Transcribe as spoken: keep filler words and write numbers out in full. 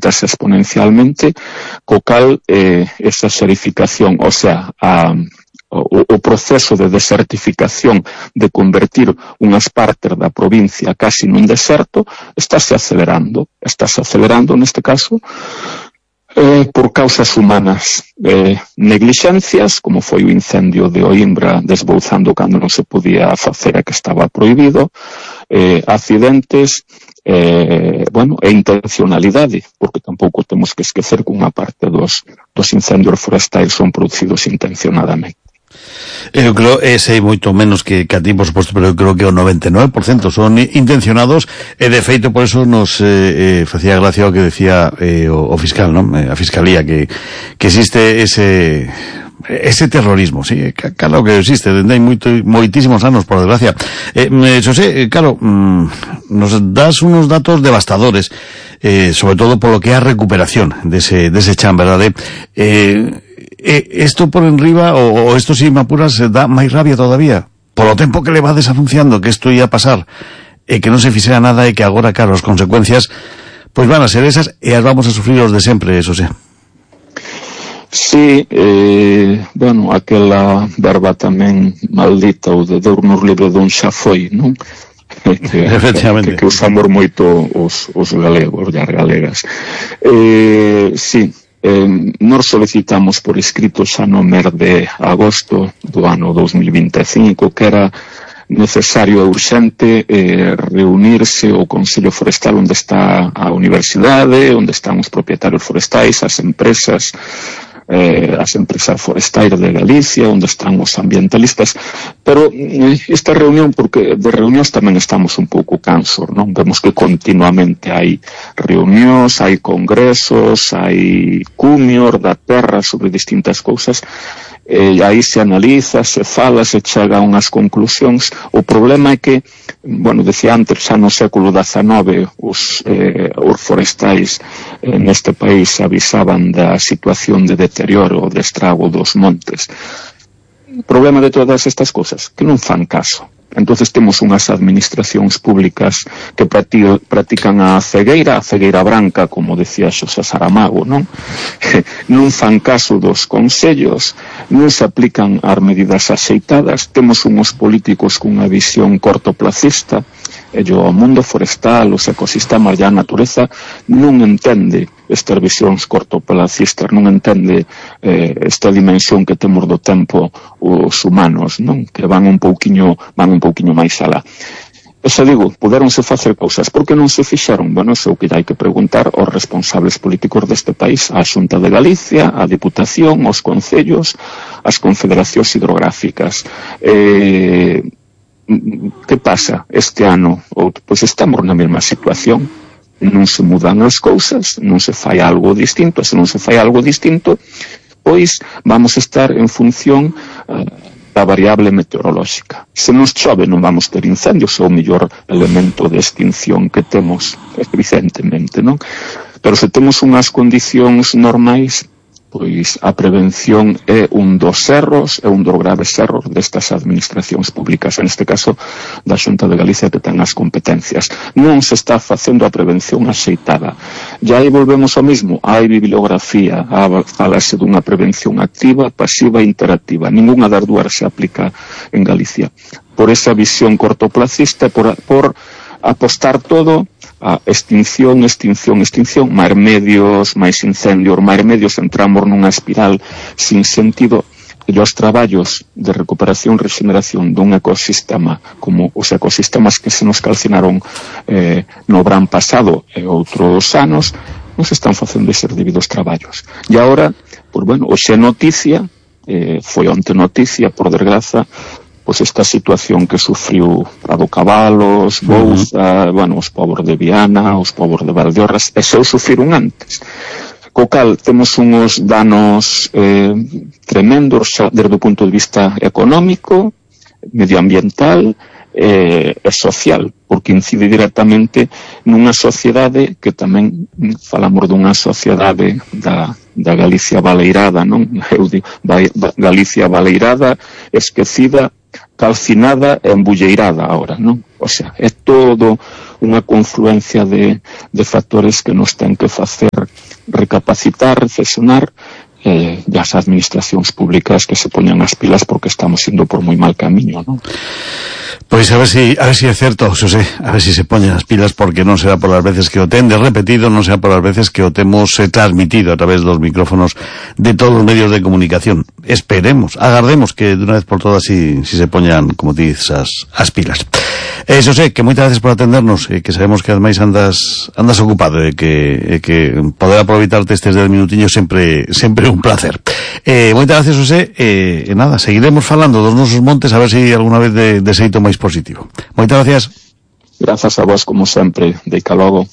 incrementase exponencialmente, co cal eh, esa xerificación, o sea, a O, o proceso de desertificación, de convertir unhas partes da provincia casi nun deserto, estáse acelerando. Estáse acelerando, neste caso, eh, por causas humanas. Eh, neglixencias, como foi o incendio de Oimbra desbouzando cando non se podía facer e que estaba prohibido, eh, accidentes, eh, bueno, e intencionalidade, porque tampouco temos que esquecer que unha parte dos, dos incendios forestais son producidos intencionadamente. Eu creo, e sei moito menos que, que a ti, por suposto, pero eu creo que o noventa e nove por cento son intencionados, e de feito por eso nos eh, eh, facía gracia o que decía eh, o, o fiscal, non? Eh, a fiscalía, que, que existe ese ese terrorismo, sí, claro que existe, dende hai moito, moitísimos anos, por desgracia. Eh, Xosé, claro, mm, nos das unos datos devastadores, eh, sobre todo polo que é a recuperación dese, dese chan, verdade? Eh, Eh, esto por enriba, o, o esto si me apuras, dá máis rabia todavía, polo tempo que le vades anunciando que isto ia a pasar, e que non se fixera nada, e que agora, claro, as consecuencias pois van a ser esas, e as vamos a sufrir os de sempre, eso sí. Sí, eh, bueno, aquela verba tamén maldita, o de Deurnos livre dun xa foi, non? Que, Efectivamente. Que, que usamos moito os, os galegos e as galegas. Eh, sí, Eh, nos solicitamos por escrito xa no mes de agosto do ano dos mil vinte e cinco que era necesario e urxente eh, reunirse o Consello Forestal onde está a universidade, onde están os propietarios forestais, as empresas eh, as empresas forestais de Galicia, onde están os ambientalistas, pero eh, esta reunión, porque de reunións tamén estamos un pouco cansos, non? Vemos que continuamente hai reunións, hai congresos, hai cumios da terra sobre distintas cousas, e aí se analiza, se fala, se chega a unhas conclusións. O problema é que, bueno, decía antes, xa no século dezanove os, eh, os forestais eh, neste país avisaban da situación de deterioro, de estrago dos montes. O problema de todas estas cousas, que non fan caso. Entonces temos unhas administracións públicas que practican a cegueira, a cegueira branca, como decía Xosé Saramago, non? Non fan caso dos consellos, non se aplican as medidas axeitadas, temos unhos políticos cunha visión cortoplacista, e o mundo forestal, os ecosistemas e a natureza non entende estas visións cortoplacistas, non entende eh, esta dimensión que temos do tempo os humanos, non? Que van un pouquiño, van un pouquiño máis alá. E xa digo, puderonse facer cousas, por que non se fixeron? Bueno, iso que hai que preguntar aos responsables políticos deste país, á Xunta de Galicia, á Diputación, aos concellos, ás confederacións hidrográficas. Eh... Que pasa este ano? Pois estamos na mesma situación, non se mudan as cousas, non se fai algo distinto, se non se fai algo distinto, pois vamos estar en función uh, da variable meteorolóxica. Se nos chove non vamos ter incendios, é o mellor elemento de extinción que temos, evidentemente, non? Pero se temos unhas condicións normais, pois a prevención é un dos erros, é un dos graves erros destas administracións públicas, en este caso da Xunta de Galicia, que ten as competencias. Non se está facendo a prevención axeitada. E aí volvemos ao mismo, hai bibliografía, falase dunha prevención activa, pasiva e interactiva. Ninguna das dúas se aplica en Galicia. Por esa visión cortoplacista, por, por apostar todo a extinción, extinción, extinción, máis medios, máis incendios, máis medios, entramos nunha espiral sin sentido. E os traballos de recuperación e regeneración dun ecosistema como os ecosistemas que se nos calcinaron eh, no verán pasado e outros anos, non se están facendo eses debidos traballos. E agora, pues bueno, hoxe noticia, eh, foi onte noticia, por desgraza, pois esta situación que sufriu Prado Cabalos, Bouza, uh-huh. bueno, os povos de Viana, os povos de Valdeorras, e xa o sufriron antes. Co cal temos uns danos eh, tremendos xa desde o punto de vista económico, medioambiental eh, e social, porque incide directamente nunha sociedade que tamén falamos dunha sociedade da, da Galicia baleirada, non? Eu digo, Galicia baleirada, esquecida, calcinada e embulleirada ahora, non? O sea, é todo unha confluencia de, de factores que nos ten que facer recapacitar, reflexionar, eh, e as administracións públicas que se poñan as pilas porque estamos indo por moi mal camiño, non? Pois a ver si, a ver si é certo, Xosé, a ver si se poñen as pilas, porque non será por as veces que o ten de repetido, non será por as veces que o temos eh, transmitido a través dos micrófonos de todos os medios de comunicación. Esperemos, agardemos que de unha vez por todas si, si se poñan, como ti dices, as, as pilas. Eh, Xosé, que moitas gracias por atendernos, eh, que sabemos que ademais andas andas ocupado, e eh, que, eh, que poder aproveitarte estes dez minutiños sempre sempre un placer. Eh, moitas gracias, Xosé, e eh, nada, seguiremos falando dos nosos montes a ver se si alguna vez de, de xeito máis positivo. Moitas gracias. Grazas a vos, como sempre. Deica logo.